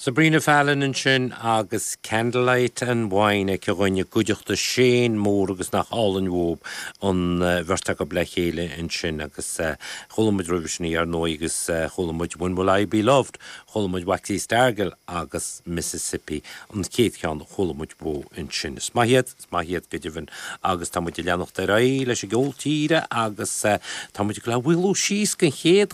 Sabrina Fallon ansin agus Candlelight and Wine aici dhúinn i gcuideachta Shane Mór agus nach álainn uathub an bheirt acu le chéile ansin agus chuala muid roimhe sin í ar ndóigh agus chuala muid When Will I Be Loved, chuala muid Waxy Stargell agus Mississippi an chéad cheann a chuala muid uathu ansin. Is maith iad, is maith iad go deimhin agus tá muid ag leanacht ar aghaidh leis an gceol tíre agus tá muid ag gabháil a mhaolú síos don chéad.